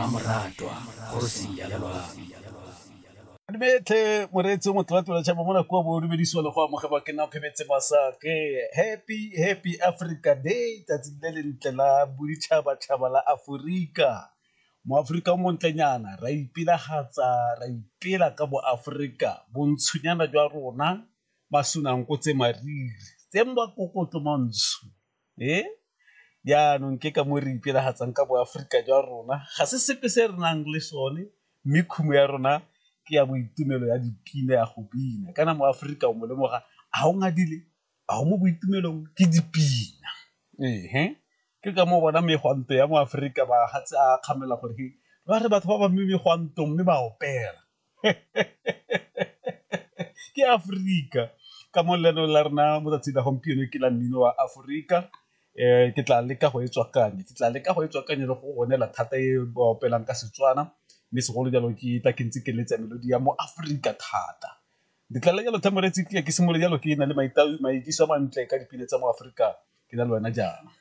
Mmamoratwa, kgosi ya loapi. Dumetlhe moreetsi o motlatla tšhaba mo nako bo dumedisiwa le go amogelwa ke nna Phemetse Masake. Happy happy Africa Day, tsatsi le lentle la boditšhabatšhaba la Aforika. Mo Aforika o montlenyana ra ipelagatsa, ra ipela ka boAforika, bontshonyana jwa rona, masunanko tse mariri, tse makokotlo mantsho. E jaanong ke ka mo re ipelagatsang ka boAforika jwa rona, ga se sepe se re nang le sone mme khumo ya rona ke ya boitumelo ya dipina ya go bina. Kana mo Aforika o mo lemoga ga o ngadile, ga o mo boitumelong ke dipina. Ehe, ke ka moo bona megwanto ya mo Aforika ba a kgamela gore ba re batho ba ba mme megwantong mme ba opela. Ke Aforika ka mo lenaneo la rona mo 'tsatsing la gompieno ke la mmino wa Aforika ke tla leka go e tswakanya, ke tla leka go e tswakanya le go go neela thata e ba opelang ka Setswana mme segolo jalo ke tla ke ntse ke letsa melodi ya mo Aforika thata. Ke tla jalo moreetsi ke simolole jalo ke na le maitiso a mantle ka dipina tsa mo Aforika ke na le wena jaana.